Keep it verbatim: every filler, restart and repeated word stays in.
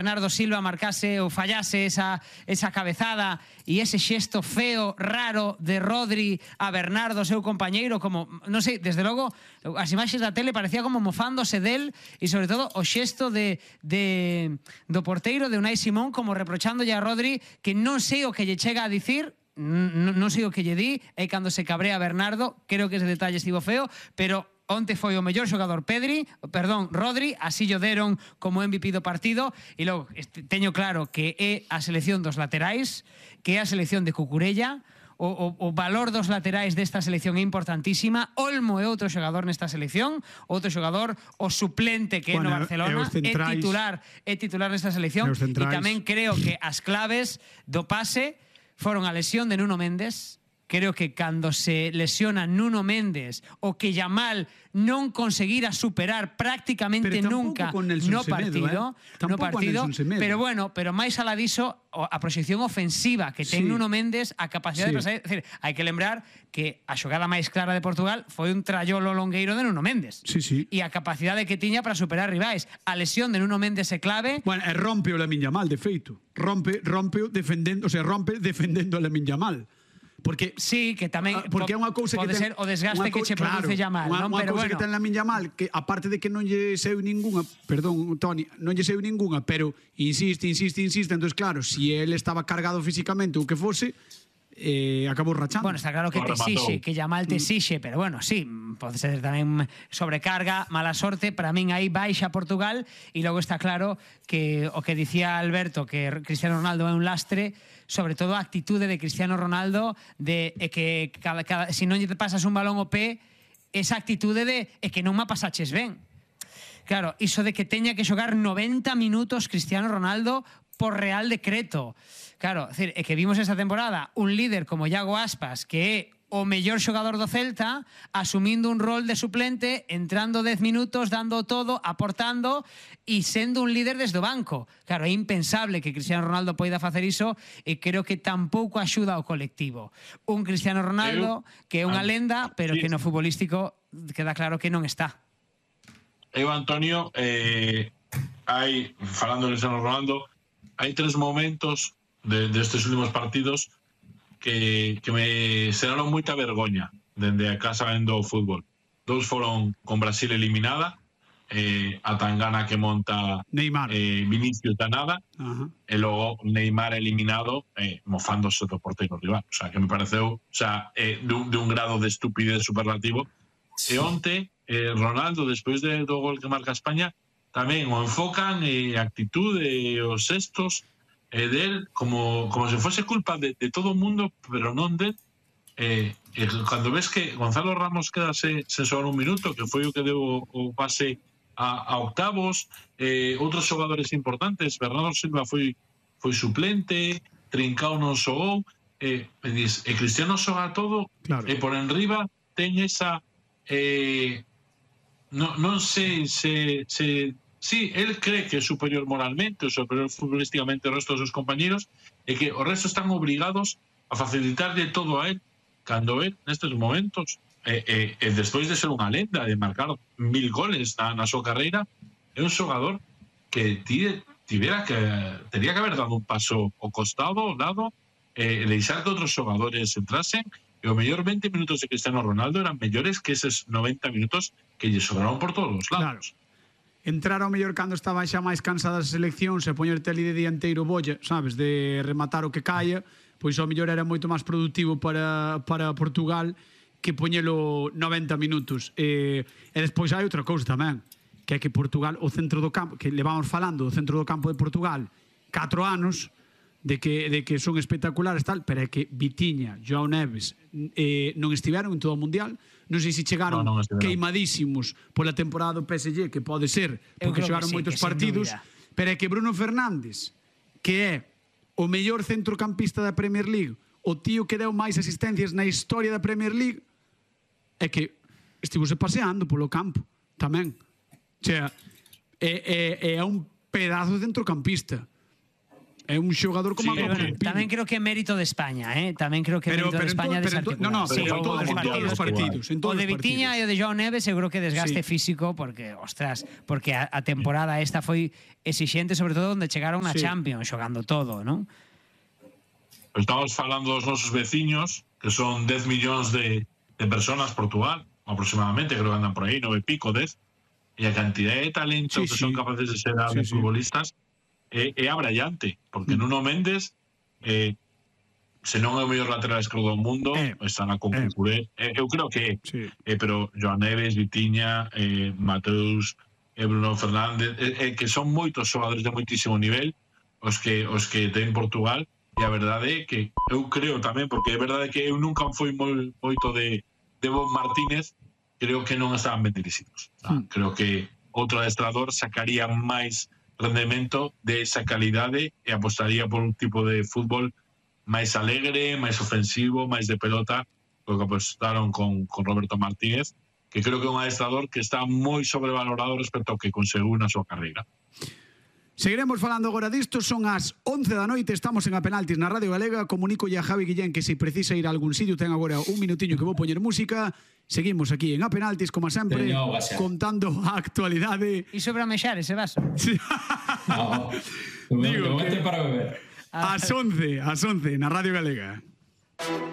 Bernardo Silva marcase ou fallase esa, esa cabezada e ese xesto feo, raro de Rodri a Bernardo, seu compañeiro, como, non sei, desde logo as imaxes da tele parecía como mofándose del e sobre todo o xesto de, de do porteiro de Unai Simón como reprochandolle a Rodri que non sei o que lle chega a dicir, non, non sei o que lle di, e cando se cabrea Bernardo, creo que ese detalle estivo feo, pero onte foi o mellor xogador Pedri, perdón, Rodri, así lle deron como M V P do partido, e logo teño claro que é a selección dos laterais, que é a selección de Cucurella, o, o, o valor dos laterais desta selección é importantísima. Olmo é outro xogador nesta selección, outro xogador, o suplente que é bueno, no Barcelona, é titular, é titular nesta selección, e tamén creo que as claves do pase foron a lesión de Nuno Méndez. Creo que cando se lesiona Nuno Méndez o que Yamal non conseguira superar prácticamente nunca no partido, eh? no partido, pero bueno, pero máis alá diso, a proxección ofensiva que ten sí. Nuno Méndez, a capacidade sí. de pasar, é dicir, hai que lembrar que a xogada máis clara de Portugal foi un trallolo longueiro de Nuno Méndez. Sí, sí. E a capacidade que tiña para superar rivais. A lesión de Nuno Méndez é clave. Bueno, e rompe o Lamine Yamal, de feito. Rompe, rompe defendendo, o sea, rompe defendendo o Lamine Yamal. Porque sí, que tamén porque é unha cousa pode que ten, ser o desgaste que che claro, produce Yamal, unha, non? Unha Pero cousa bueno, que ten Lamine Yamal, que aparte de que non lle seu ningunha, perdón, Toni, non lle seu ningunha, pero insiste, insiste, insiste, entonces claro, si él estaba cargado físicamente ou que fose, eh, acabou rachando. Bueno, está claro que te exixe, que Yamal te exixe, pero bueno, sí, pode ser tamén sobrecarga, mala sorte, para min aí baixa Portugal, e logo está claro que o que dicía Alberto, que Cristiano Ronaldo é un lastre, sobre todo a actitude de Cristiano Ronaldo de é que cada, cada, si non lle pasas un balón ao pé, esa actitude de é que non me pasaches ben. Claro, iso de que teña que xogar noventa minutos Cristiano Ronaldo por real decreto. Claro, é, é que vimos esta temporada un líder como Iago Aspas, que é o mellor xogador do Celta, asumindo un rol de suplente, entrando dez minutos, dando todo, aportando e sendo un líder desde o banco. Claro, é impensable que Cristiano Ronaldo poida facer iso e creo que tampouco axuda ao colectivo. Un Cristiano Ronaldo que é unha lenda, pero que no futbolístico queda claro que non está. Eu, Antonio, eh, hai, falando de Cristiano Ronaldo, hai tres momentos de, destes últimos partidos que, que me xeraron moita vergoña dende a casa vendo o fútbol. Dous foron con Brasil eliminada, eh, a tangana que monta Neymar, eh, Vinicius da nada, uh-huh. e logo Neymar eliminado eh, mofándose do porteiro rival. O sea, que me pareceu, o sea, eh, de, un, de un grado de estupidez superlativo. E onte, eh, Ronaldo, despois de, do gol que marca España, tamén o enfocan e eh, actitude e os xestos eh, del como, como se fose culpa de, de todo o mundo, pero non del. Eh, eh, cando ves que Gonzalo Ramos quedase sen xogar un minuto, que foi o que deu o, o pase a, a octavos, eh, outros xogadores importantes, Bernardo Silva foi, foi suplente, Trincao non xogou, eh, e, dis, e Cristiano xoga todo, claro. E por enriba ten esa... Eh, no, non sei se... se sí, él cree que é superior moralmente, ou superior futbolísticamente ao resto dos seus compañeros, e que o resto están obrigados a facilitarle todo a él, cando él, nestes momentos, e, e, e despois de ser unha lenda, de marcar mil goles na, na súa carreira, é un xogador que tide, tivera que teria que haber dado un paso ao costado, ao lado, e deixar que outros xogadores entrasen, e o mellor veinte minutos de Cristiano Ronaldo eran mellores que eses noventa minutos que lle sobraron por todos os lados. Claro. Entrar ao mellor cando estaba xa máis cansada a selección, se poñerte ali de dianteiro bolla, sabes, de rematar o que caia, pois ao mellor era moito máis productivo para, para Portugal que poñelo noventa minutos. E, e despois hai outra cousa tamén, que é que Portugal, o centro do campo, que levamos falando do centro do campo de Portugal catro anos, de que, de que son espectaculares tal, pero é que Vitinha, João Neves eh, non estiveron en todo o Mundial, non sei se chegaron no, no queimadísimos pola temporada do P S G, que pode ser porque xogaron sí, moitos partidos, pero é que Bruno Fernández, que é o mellor centrocampista da Premier League, o tío que deu máis asistencias na historia da Premier League, é que estivose paseando polo campo tamén, o sea, é, é, é un pedazo de centrocampista. É un xogador como Sí, a Pero, bueno, tamén creo que é mérito de España, eh? Tamén creo que é Pero- mérito de pero en España to- pero en to- desarticular. no, no, Sí, pero en o todos dos en todos os partidos, en O todos de os Vitiña e partidos. o de João Neves seguro que desgaste Sí. físico porque, ostras, porque a, a temporada esta foi exixente, sobre todo onde chegaron na Sí. Champions, xogando todo, non? Estamos falando dos nosos veciños, que son dez millóns de, de personas, Portugal, aproximadamente, creo que andan por aí, nove e pico, dez, e a cantidad de talento Sí, que sí. son capaces de ser Sí, sí, sí. futbolistas é, é abrallante, porque Mm. Nuno Méndez, eh, se non é o mellor lateral esquerdo do mundo, Eh, están a concurrir. Eh. Eu creo que é, Sí. eh, pero Joan Neves, Vitiña, eh, Mateus, eh, Bruno Fernández, eh, eh, que son moitos xogadores de moitísimo nivel, os que os que ten Portugal, e a verdade é que eu creo tamén, porque é verdade que eu nunca fui moi, moito de, de Bob Martínez, creo que non estaban ben dirixidos. Hmm. Creo que outro adestrador sacaría máis rendemento de esa calidade e apostaría por un tipo de fútbol máis alegre, máis ofensivo, máis de pelota, o que apostaron con, con Roberto Martínez, que creo que é un adestrador que está moi sobrevalorado respecto ao que conseguiu na súa carreira. Seguiremos falando agora disto, son as once da noite, estamos en A Penaltis na Radio Galega. Comunico a Javi Guillén que se precisa ir a algún sitio, ten agora un minutiño que vou poñer música. Seguimos aquí en A Penaltis, como sempre, Teño auga xa. contando a actualidade. E sobre a mexar ese vaso. No, de Digo momento que- para beber. As once, as once, na Radio Galega.